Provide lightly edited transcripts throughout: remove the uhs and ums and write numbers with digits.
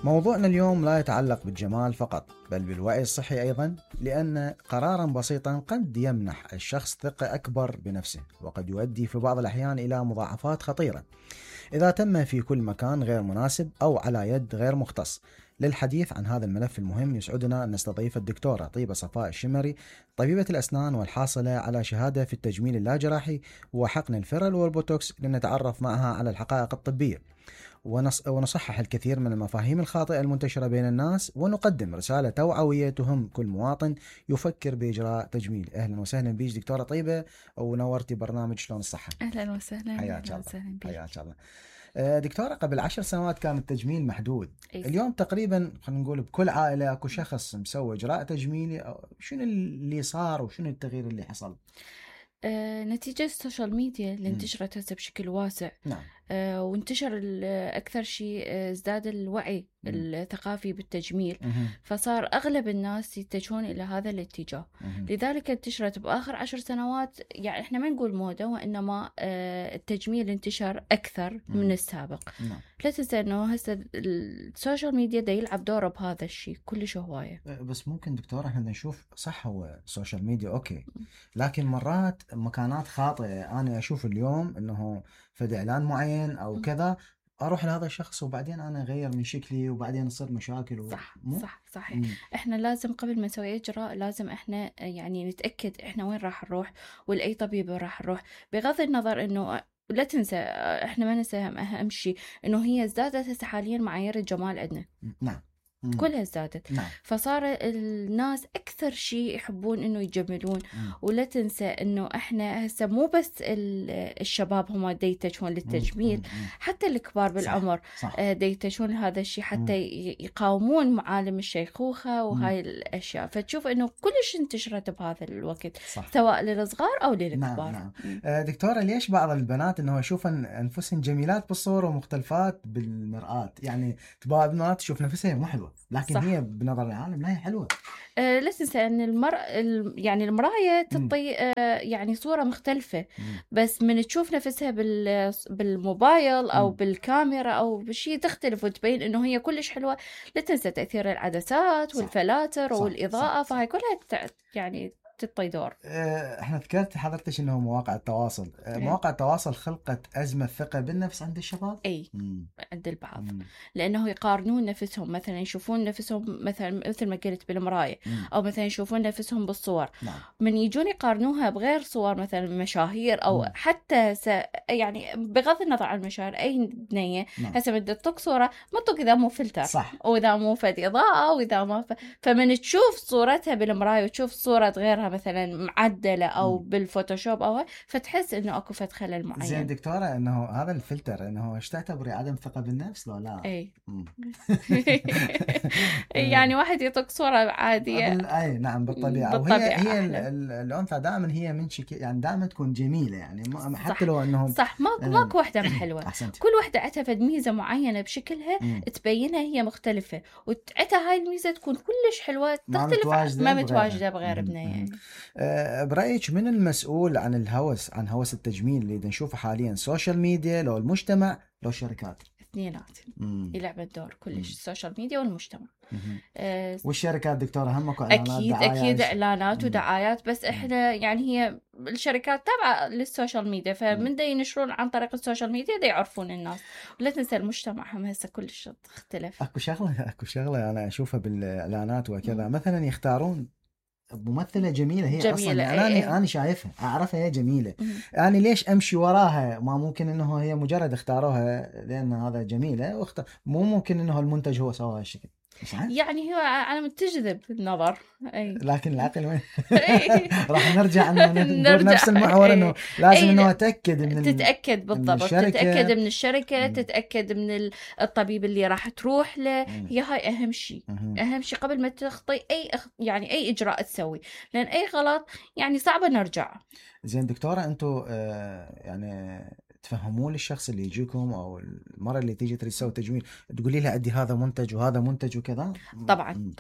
موضوعنا اليوم لا يتعلق بالجمال فقط بل بالوعي الصحي أيضا، لأن قرارا بسيطا قد يمنح الشخص ثقة أكبر بنفسه، وقد يؤدي في بعض الأحيان إلى مضاعفات خطيرة إذا تم في كل مكان غير مناسب أو على يد غير مختص. للحديث عن هذا الملف المهم يسعدنا أن نستضيف الدكتورة طيبة صفاء الشمري، طبيبة الأسنان والحاصلة على شهادة في التجميل اللاجراحي وحقن الفيرل والبوتوكس، لنتعرف معها على الحقائق الطبية ونصحح الكثير من المفاهيم الخاطئة المنتشرة بين الناس، ونقدم رسالة توعوية تهم كل مواطن يفكر بإجراء تجميل. أهلا وسهلا بيك دكتورة طيبة، ونورتي برنامج شلون الصحة. أهلا وسهلا. حياك الله. حياك الله. دكتورة، قبل 10 سنوات كان التجميل محدود. اليوم تقريبا خلينا نقول بكل عائلة اكو شخص مسوي إجراء تجميلي. شنو اللي صار وشنو التغيير اللي حصل؟ نتيجة السوشيال ميديا اللي انتشرت هسه بشكل واسع. نعم. وانتشر أكثر شيء ازداد الوعي الثقافي بالتجميل، فصار أغلب الناس يتجهون إلى هذا الاتجاه. لذلك انتشرت بآخر 10 سنوات، يعني إحنا ما نقول موضة، وإنما التجميل انتشر أكثر من السابق. لا تنسى إنه هسه السوشيال ميديا دا يلعب دوره بهذا الشيء كلش هواية. بس ممكن دكتورة احنا نشوف صح هو السوشيال ميديا أوكي، لكن مرات مكانات خاطئة. أنا أشوف اليوم إنه فد إعلان معين أو كذا، أروح لهذا الشخص وبعدين أنا أغير من شكلي وبعدين يصير مشاكل صحيح. إحنا لازم قبل ما نسوي إجراء لازم إحنا يعني نتأكد إحنا وين راح نروح ولأي طبيب راح نروح، بغض النظر إنه لا تنسى إحنا ما ننسى أهم شيء إنه هي ازدادت هسه حاليا معايير الجمال عندنا. نعم. كلها ازدادت. نعم. فصار الناس أكثر شيء يحبون إنه يجملون. ولا تنسى إنه إحنا هسه مو بس الشباب هم يتجهون للتجميل، حتى الكبار بالعمر يتجهون لهذا الشيء حتى يقاومون معالم الشيخوخة وهاي الأشياء. فتشوف إنه كلش انتشرت بهذا الوقت، سواء للصغار أو للكبار. نعم. دكتورة، ليش بعض البنات إنه يشوفن أنفسهن جميلات بالصورة ومختلفات بالمرآة؟ يعني بعض البنات تشوف نفسها مو حلوة، لكن صح. هي بنظر العالم لا هي حلوة. لا تنسى أن يعني المراية تعطي يعني صورة مختلفة. بس من تشوف نفسها بالموبايل أو بالكاميرا أو بشيء تختلف وتبين إنه هي كلش حلوة. لا تنسى تأثير العدسات والفلاتر والإضاءة، فهي كلها يعني تطي دور. احنا ذكرت حضرتك انه مواقع التواصل، مواقع التواصل خلقت أزمة ثقة بالنفس عند الشباب. عند البعض، لانه يقارنون نفسهم، مثلا يشوفون نفسهم مثل ما قلت بالمراية، او مثلا يشوفون نفسهم بالصور. من يجون يقارنوها بغير صور، مثلا مشاهير او حتى يعني بغض النظر عن المشاهير، اي بنية هسه بدها تطق صورة ما تطق اذا مو فلتر، صح. واذا مو فد اضاءة، واذا ما فمن تشوف صورتها بالمراية وتشوف صورة غيرها مثلا معدلة او بالفوتوشوب او فتحس انه اكو فد خلل معين. زين دكتورة، انه هذا الفلتر انه ايش تعتبري عدم ثقة بالنفس لو لا؟ اي يعني واحد يطق صورة عادية. اي نعم، بالطبيعة. وهي الانثى دائما هي من يعني دائما تكون جميلة، يعني حتى لو انهم صح. ماكو واحدة حلوة. كل واحدة عندها فد ميزة معينة بشكلها تبينها هي مختلفة، وعندها هاي الميزة تكون كلش حلوة تختلف ما متواجدة بغير بنية. برأيك من المسؤول عن الهوس، عن هوس التجميل اللي نشوفه حاليا؟ السوشيال ميديا لو المجتمع لو الشركات؟ اثنينات يلعب الدور كلش، السوشيال ميديا والمجتمع. والشركات دكتورة همكو اعلانات، اكيد اعلانات ودعايات. بس احنا يعني هي الشركات تابعة للسوشيال ميديا، فمن دا ينشرون عن طريق السوشيال ميديا دا يعرفون الناس. ولا تنسى المجتمع هم هسه كلش تختلف. اكو شغلة انا اشوفها بالاعلانات وكذا، مثلا يختارون ممثلة جميلة، هي أصلا يعني أنا شايفها أعرفها هي جميلة. يعني ليش أمشي وراها؟ ما ممكن إنه هي مجرد اختاروها لأن هذا جميلة مو ممكن إنه المنتج هو سوى هالشكل. يعني هو على تجذب النظر. لكن العقل وين؟ راح نرجع ندور نفس المحور، إنه لازم إنه تتأكد بالضبط، تتأكد من الشركة، تتأكد من الطبيب اللي راح تروح له. هي هاي أهم شيء. أهم شيء قبل ما تخطي يعني أي إجراء تسوي، لأن أي غلط يعني صعب نرجع. زين دكتورة، أنتوا يعني تفهمون للشخص اللي يجيكم او المرة اللي تيجي تريد تسوي تجميل تقولي لها عندي هذا منتج وهذا منتج وكذا؟ طبعا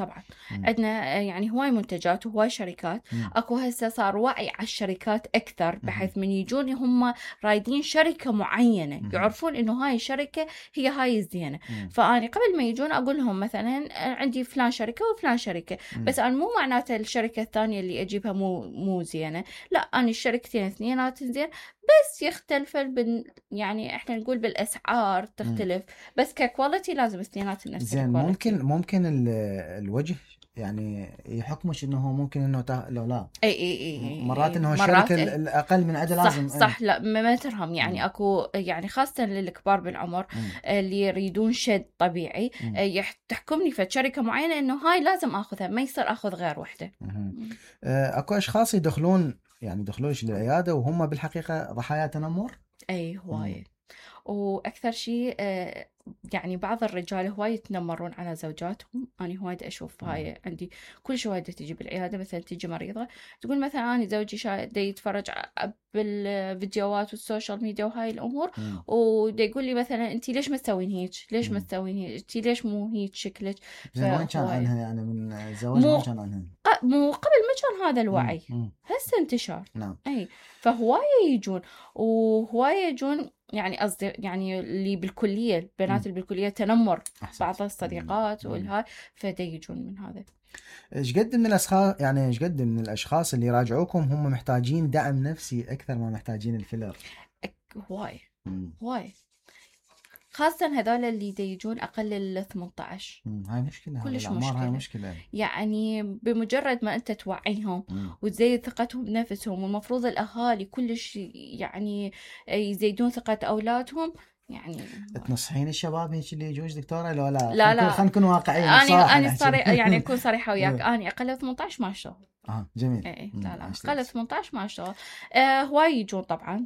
عندنا يعني هواي منتجات وهواي شركات. اكو هسه صار وعي على الشركات اكثر، بحيث من يجون هم رايدين شركة معينة يعرفون انه هاي الشركة هي هاي الزينة. فاني قبل ما يجون اقول لهم مثلا عندي فلان شركة وفلان شركة، بس انا مو معناته الشركة الثانية اللي اجيبها مو زينة، لا انا الشركتين اثنينات زين، بس يختلف يعني احنا نقول بالاسعار تختلف، بس ككواليتي لازم اثنينات نفس زين. ممكن الوجه يعني يحكمش انه ممكن انه لو لا اي مرات انه الشركه الاقل من عدد لازم صح لا ما ترهم يعني اكو يعني خاصه للكبار بالعمر اللي يريدون شد طبيعي تحكمني في شركه معينه انه هاي لازم اخذها، ما يصير اخذ غير وحده. اكو اشخاص يدخلون للعياده وهم بالحقيقه ضحايا تنمر. اي هواي. واكثر شيء يعني بعض الرجال هواي يتنمرون على زوجاتهم. أنا هواي أشوف هاي عندي كل شوية تيجي بالعيادة، مثلا تيجي مريضة تقول مثلا أنا زوجي دا يتفرج بالفيديوهات والسوشيال ميديا وهاي الأمور، ودا يقول لي مثلا أنتي ليش ما تسوين هيك، ليش ما تسوين هيك، أنتي ليش مو هيك شكلك. وين كان عنها يعني من زواج ما كان عنها مو قبل ما كان هذا الوعي، هسه انتشار. نعم. أي فهواية يجون وهواية يجون يعني قصدي يعني اللي بالكلية البنات اللي بالكلية تنمر بعض الصديقات والهاي، فدا يجون من هذا. ايش قد من الاشخاص اللي يراجعوكم هم محتاجين دعم نفسي اكثر ما محتاجين الفيلر؟ هواي خاصة هذول اللي يجون أقل ال 18. هاي مشكلة، كلش مشكلة. هاي مشكلة يعني بمجرد ما أنت توعيهم وتزيد ثقتهم بنفسهم، والمفروض الأهالي كلش يعني يزيدون ثقة أولادهم. يعني تنصحين الشباب هيك اللي يجوز دكتورة لو لا؟ لا خلينا نكون واقعيين. أنا صريحة يعني أكون صريحة وياك. أنا أقل 18 ما أشتغل. جميل. لا أقل 18 ما أشتغل. هواي يجون طبعا.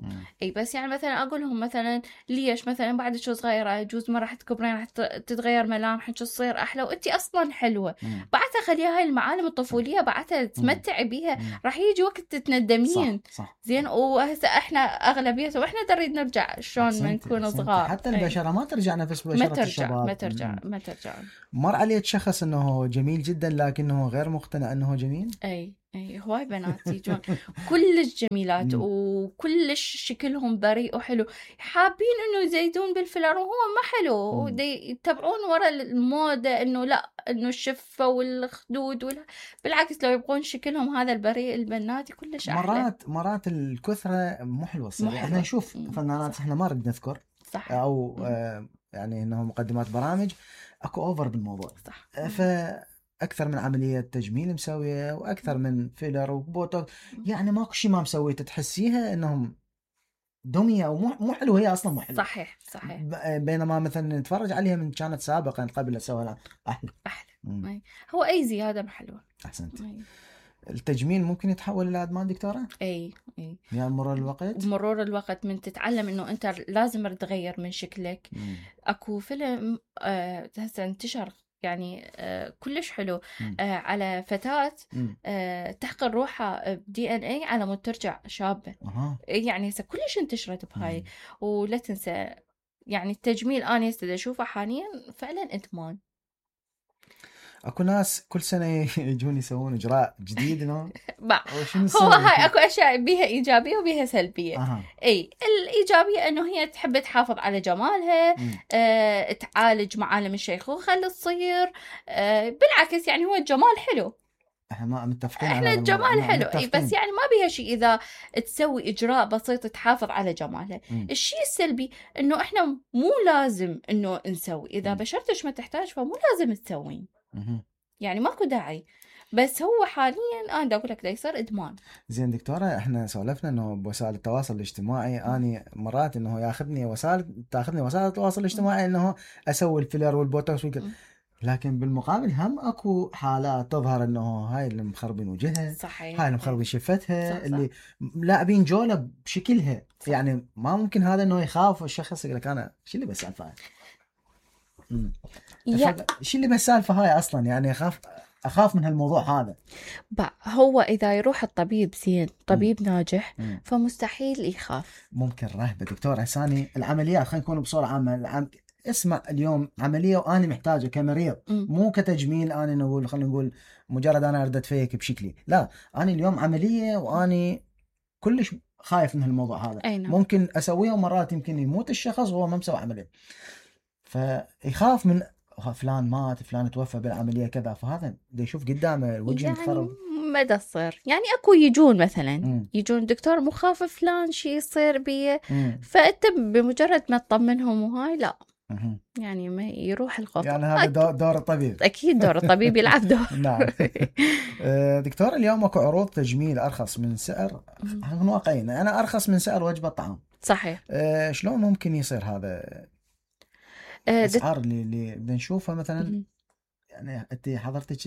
بس يعني مثلا أقول لهم مثلا ليش مثلا بعد شو صغيرة يجوز ما راح تكبرين، راح تتغير ملامحك تصير أحلى وأنتي أصلا حلوة. بعدها خليها هاي المعالم الطفولية بعدها تتمتعي بيها، راح يجي وقت تتندمين. صح. زين. وهسه احنا أغلبيته وإحنا نريد نرجع شلون ما نكون صغار. حتى البشرة ما ترجع نفس بشرة الشباب. ما ترجع. مر عليه شخص انه جميل جدا لكنه غير مقتنع انه جميل. اي هواي بنات يجون كلش جميلات وكلش شكلهم بريء وحلو، حابين انه يزيدون بالفلر وهو ما حلو، يتبعون ورا الموضة انه لا انه الشفة والخدود بالعكس لو يبغون شكلهم هذا البريء البنات كلش احلى. مرات الكثرة مو حلوة الصراحة. احنا نشوف فنانات احنا ما نريد نذكر صح. او يعني انه مقدمات برامج اكو اوفر بالموضوع. صح. اكثر من عمليه تجميل مسويه واكثر من فيلر وبوتوكس، يعني ماكو شيء ما مسويته تحسيها انهم دميه او مو حلوه، هي اصلا مو حلوه. صحيح. بينما مثلا نتفرج عليها من كانت سابقا قبل اسويها احلى. هو اي زياده حلوه. احسنت. التجميل ممكن يتحول الى ادمان دكتوره؟ اي يعني مرور الوقت من تتعلم انه انت لازم تغير من شكلك. اكو فيلم هسه انتشر يعني كلش حلو على فتاة تحقن روحها DNA على مود ترجع شابة. يعني هسه كلش انتشرت بهاي. ولا تنسى يعني التجميل أنا هسه أشوفه حاليا فعلا إدمان. اكو ناس كل سنه يجون يسوون اجراء جديد انه هو هاي اكو اشياء بيها ايجابيه وبيها سلبيه. اي الايجابيه انه هي تحب تحافظ على جمالها، تعالج معالم الشيخوخه اللي تصير. بالعكس يعني هو الجمال حلو، احنا ما متفقين احنا الجمال حلو. اي بس يعني ما بيها شيء اذا تسوي اجراء بسيط تحافظ على جمالها. الشيء السلبي انه احنا مو لازم انه نسوي، اذا بشرتك ما تحتاج فمو لازم تسوين، يعني ماكو داعي. بس هو حاليا انا دا اقول لك دا يصير ادمان. زين دكتوره، احنا سولفنا انه بوسائل التواصل الاجتماعي اني مرات انه تاخذني وسائل التواصل الاجتماعي انه اسوي الفيلر والبوتوكس لكن بالمقابل هم اكو حالات تظهر انه هاي اللي مخربين وجهها، صحيح، هاي اللي مخربين شفتها، صح. اللي لاعبين جوله بشكلها. صح. يعني ما ممكن هذا انه يخاف الشخص يقول لك انا شو اللي بسالفه شو اللي بالسالفه هاي اصلا، يعني اخاف اخاف من هالموضوع هذا. هو اذا يروح الطبيب زين، طبيب ناجح، فمستحيل يخاف. ممكن رهبه دكتور هساني العمليات، خلينا نكون بصوره عامه اسمع اليوم عمليه وانا محتاجه كمريض، مو كتجميل، انا نقول خلينا نقول مجرد انا اريد اتفيك بشكلي، لا انا اليوم عمليه واني كلش خايف من هالموضوع هذا. ممكن اسويها ومرات يمكن يموت الشخص وهو ما مسوي عمليه، فيخاف من فلان مات، فلان توفى بالعمليه كذا، فهذا دا يشوف قدامه الوجه متخرب. مدى تصير يعني اكو يجون مثلا يجون دكتور مخاف فلان شيء يصير بيه، فانت بمجرد ما تطمنهم وهاي لا يعني ما يروح الخوف. يعني هذا دور الطبيب. اكيد دور الطبيب يلعب دور. نعم. دكتور اليوم اكو عروض تجميل ارخص من سعر، نكون واقعيين، انا ارخص من سعر وجبه طعام. صحيح. شلون ممكن يصير هذا؟ الاسعار اللي بنشوفها مثلا، يعني انت حضرتك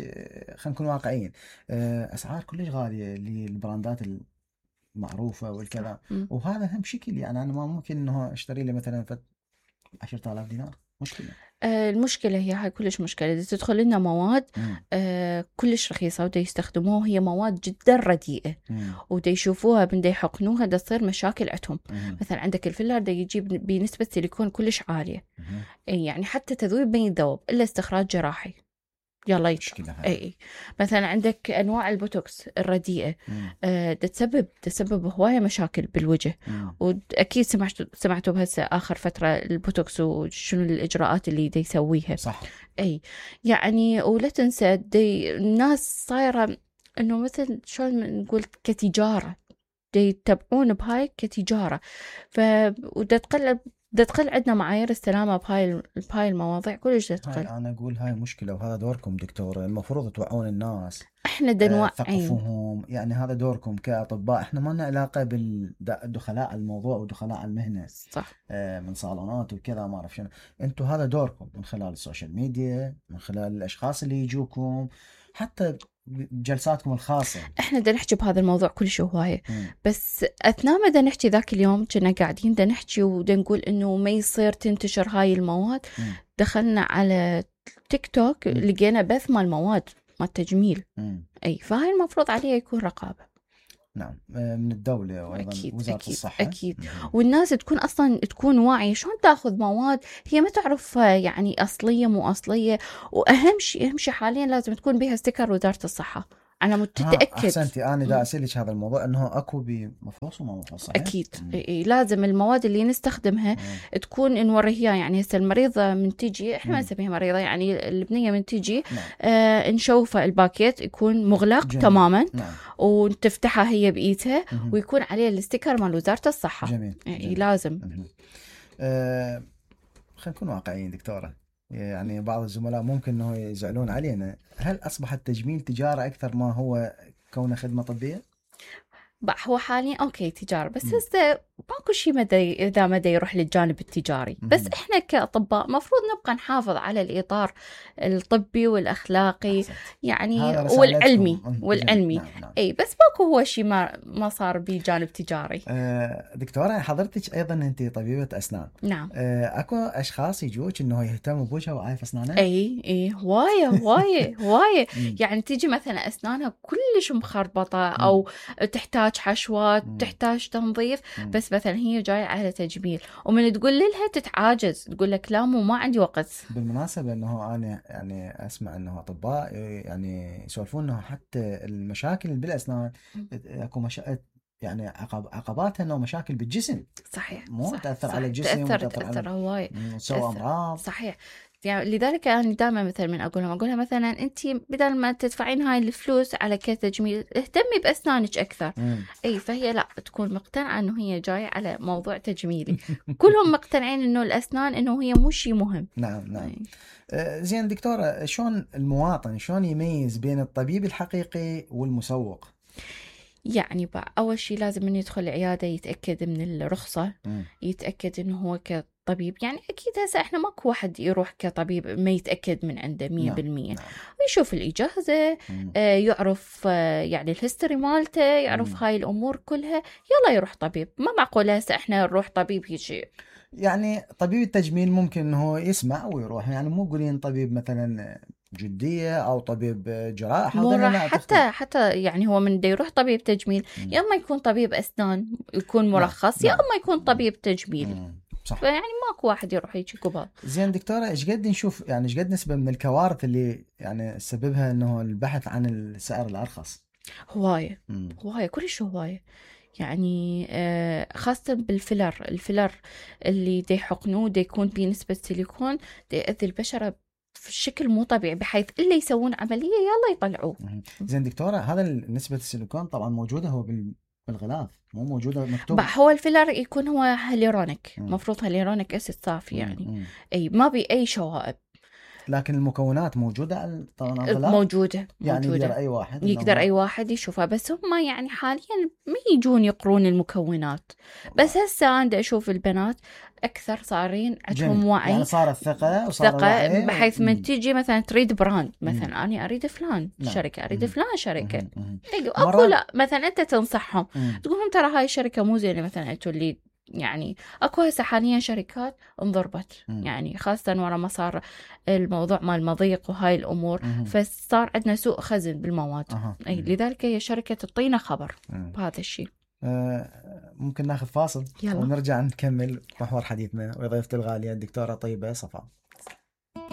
خلينا نكون واقعيين، اسعار كلش غاليه للبراندات المعروفه والكذا، وهذا هم شكل يعني انا ما ممكن انه اشتري لي مثلا 10,000 دينار، مشكله. المشكله هي هاي كلش مشكله، اذا تدخل لنا مواد كلش رخيصه ودا يستخدموها، هي مواد جدا رديئه ودا يشوفوها بدا يحقنوها، دا تصير مشاكل عندهم. مثلا عندك الفيلر دا يجيب بنسبه سيليكون كلش عاليه، يعني حتى تذويب ما يذوب الا استخراج جراحي. يلا اي مثلا عندك انواع البوتوكس الرديئه تسبب هوايه مشاكل بالوجه، واكيد سمعتوا بهسه اخر فتره البوتوكس وشنو الاجراءات اللي دا يسويها. صح. اي يعني ولا تنسى الناس صايره انه مثل شلون نقول كتجاره، دا يتبعون بهاي كتجاره، ودا تقل عندنا معايير السلامة بهاي المواضيع كلش تقل. أنا أقول هاي مشكلة، وهذا دوركم دكتور، المفروض توعون الناس، إحنا دنوعين، ثقفوهم، يعني هذا دوركم كأطباء. إحنا ما لنا علاقة بالدخلاء الموضوع ودخلاء المهنة. صح. من صالونات وكذا ما أعرف شنو، أنتوا هذا دوركم من خلال السوشيال ميديا، من خلال الأشخاص اللي يجوكم، حتى بجلساتكم الخاصة. احنا دا نحكي بهذا الموضوع كلش هواية، بس اثناء ما دا نحكي ذاك اليوم كنا قاعدين دا نحكي ودا نقول انه ما يصير تنتشر هاي المواد. دخلنا على تيك توك لقينا بث مال مواد مال تجميل. اي فهاي المفروض عليها يكون رقابة. نعم، من الدولة وأيضا وزارة الصحة. أكيد. والناس تكون أصلا تكون واعية شلون تأخذ مواد هي ما تعرف يعني أصلية مو أصلية، وأهم شيء حاليا لازم تكون بها ستيكر وزارة الصحة. أنا متأكد. أحسنتي، أنا دا أسألك هذا الموضوع إنه أكو بمفحوص وما مفحوص. صحيح؟ أكيد. لازم المواد اللي نستخدمها تكون نوريها، يعني هسه المريضة من تجي، إحنا ما نسميها مريضة، يعني البنية من تجي نشوفها الباكيت يكون مغلق تماما. وتفتحها هي بإيدها ويكون عليه الستيكر مال وزارة الصحة. جميل. لازم. خلينا نكون واقعيين دكتورة، يعني بعض الزملاء ممكن انه يزعلون علينا، هل اصبح التجميل تجارة اكثر ما هو كونه خدمة طبية؟ هو حاليا اوكي تجارة، بس هسه ماكو شيء اذا مدى يروح للجانب التجاري. بس احنا كاطباء مفروض نبقى نحافظ على الاطار الطبي والاخلاقي يعني والعلمي. نعم. اي بس ماكو هو شيء ما صار بجانب تجاري. دكتورة حضرتك ايضا انت طبيبة اسنان. نعم. اكو اشخاص يجوك انه يهتموا بوجهها وعايف اسنانها؟ اي هواية يعني تيجي مثلا اسنانها كلش مخربطة او تحتاج حشوات، تحتاج تنظيف، بس مثلا هي جاية على تجميل ومن تقول لها تتعاجز، تقول لك لا مو ما عندي وقت. بالمناسبة انه انا يعني اسمع انه اطباء يعني يسولفون انه حتى المشاكل بالاسنان اكو يعني عقباتها انه مشاكل بالجسم. صحيح. مو تأثر على الجسم، تأثر هواي، تسوي امراض. صحيح. يعني لذلك أنا دائما مثلا من أقولها مثلا أنت بدل ما تدفعين هاي الفلوس على كتجميل اهتمي بأسنانك أكثر. أي فهي لا تكون مقتنعة إنه هي جاية على موضوع تجميلي. كلهم مقتنعين إنه الأسنان إنه هي مو شيء مهم. نعم. زين دكتورة، شلون المواطن شلون يميز بين الطبيب الحقيقي والمسوق؟ يعني أول شيء لازم من يدخل العيادة يتأكد من الرخصة، يتأكد إنه هو كطبيب. يعني أكيد هسه إحنا ماكو واحد يروح كطبيب ما يتأكد من عنده 100%. ويشوف الإجازة، يعرف يعني الهيستوري مالته، يعرف هاي الأمور كلها، يلا يروح طبيب. ما معقول هسه إحنا نروح طبيب يجي. يعني طبيب التجميل ممكن إنه يسمع ويروح، يعني مو قولين طبيب مثلا جديه او طبيب جراحه، مو راح حتى يعني هو من دا يروح طبيب تجميل يا اما يكون طبيب اسنان يكون مرخص، يا اما يكون طبيب تجميل. صح. فيعني ماكو واحد يروح هيك قبال. زين دكتوره، ايش قد نشوف يعني ايش قد نسبه من الكوارث اللي يعني سببها انه البحث عن السعر الارخص؟ هوايه كلش هوايه. يعني خاصة بالفيلر، الفيلر اللي دي يحقنوه دي يكون بنسبة سيليكون دي يأذي البشرة بشكل مو طبيعي، بحيث إلا يسوون عملية يلا يطلعوه. زين دكتورة، هذا نسبة السيليكون طبعا موجودة هو بالغلاف، مو موجودة مكتوب. هو الفيلر يكون هو هاليرونيك، مفروض هاليرونيك أسيد صافي يعني. أي ما بي أي شوائب، لكن المكونات موجودة طبعا الغلاف موجودة يعني موجودة. يقدر أي واحد يشوفها، بس هم يعني حاليا ما يجون يقرون المكونات. بس هسه أنا أشوف البنات أكثر صارين عندهم وعي، يعني صار الثقة بحيث من تيجي مثلا تريد براند، مثلا أنا أريد فلان شركة، أريد فلان شركة، أكو لا مثلا أنت تنصحهم تقولهم ترى هاي الشركة مو زينة، مثلا أنتوا اللي يعني اكو هسه حاليا شركات انضربت يعني، خاصة ورا ما صار الموضوع مال المضيق وهاي الامور، فصار عندنا سوء خزن بالمواد. اي لذلك هي شركة تعطينا خبر بهذا الشيء. ممكن ناخذ فاصل يلا. ونرجع نكمل محور حديثنا وضيفتي الغالية الدكتورة طيبة صفاء.